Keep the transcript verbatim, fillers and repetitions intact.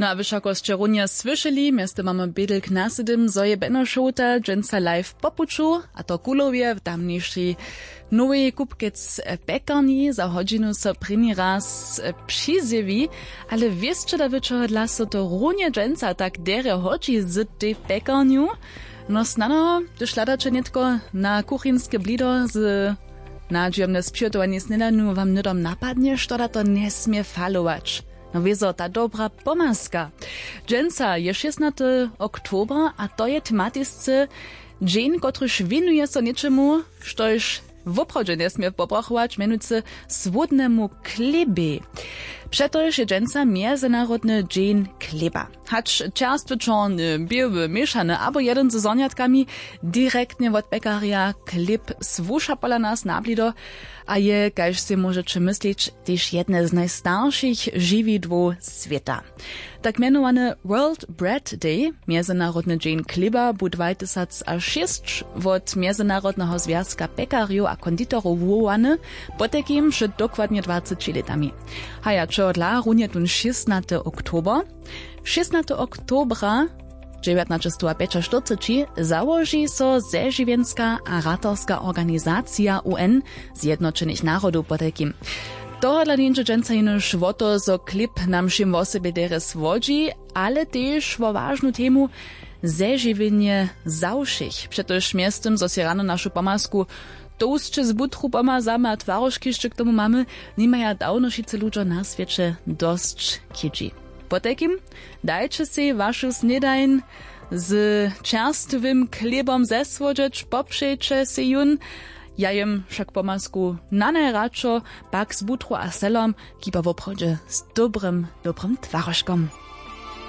No a wy wšako sće runje słyšeli, mjeztym mamy bědlk na sydym, zo je beno šołta dźensa live po puću, a to kulowje w tamnišej nowej kupkec pjekarni za hodźinu so prěni raz přizjewi. Ale wěsće da wy čehodla so to runje dźensa tak derje hodźi z tej pjekarnju? No snano, hdyž hladaće nětko na kuchinske blido z nadźijomne spřihotowanje snědanu, wam hnydom napadnje, što da to njesmě falować. No wězo, ta dobra pomazka. Dźensa je šěsnaty oktober a to je tematisce dźeń, kotryž wěnuje so něčemu, štož woprawdźe njesmě pobrachować, mjenujcy słódnemu chlěbej. Přetož je dźensa mjezynarodny dźeń chlěba. Hač čerstwy, čorny, běły, měšany abo jedyn ze zhonjatkami, direktnje wot pjekarja chlěb słuša pola nas na blido a je, kaž sej móžeće myslić, tež jedne z najstaršich žiwidłow swěta. Tak mjenowany World Bread Day, mjezynarodny dźeń chlěba, bu dwajtysacašěsć wot Mjezynarodneho zwjazka pjekarjow a konditorow wołany, potajkim před dokładnje dwaceći lětami. Haja, čehodla runje tón šěsnaty oktober? Šěsnaty oktobra dźewjatnaćestowapjećaštyrceći załoži so zežiwjenska a ratarska organizacija U N, Zjednoćenych narodow potajkim. Tohodla njeńdźe dźensa jenož wo to, zo chlěb nam wšěm wosebje derje słodźi, ale tež wo wažnu temu: zežiwjenje za wšěch. Přetož mjeztym, zo sej rano našu pomazku tołsće z butru pomazamy a twarožki hišće k tomu mamy, nimaja dawno wšitcy ludźo na swěće dosć chědźi. Potajkim, dajće sej wašu snědań z čerstwym chlěbom zesłodźeć, popřejće sej jón. Ja jěm wšak pomazku na najradšo, pak z butru a selom, kiba woprawdźe z dobrym, dobrym twarožkom.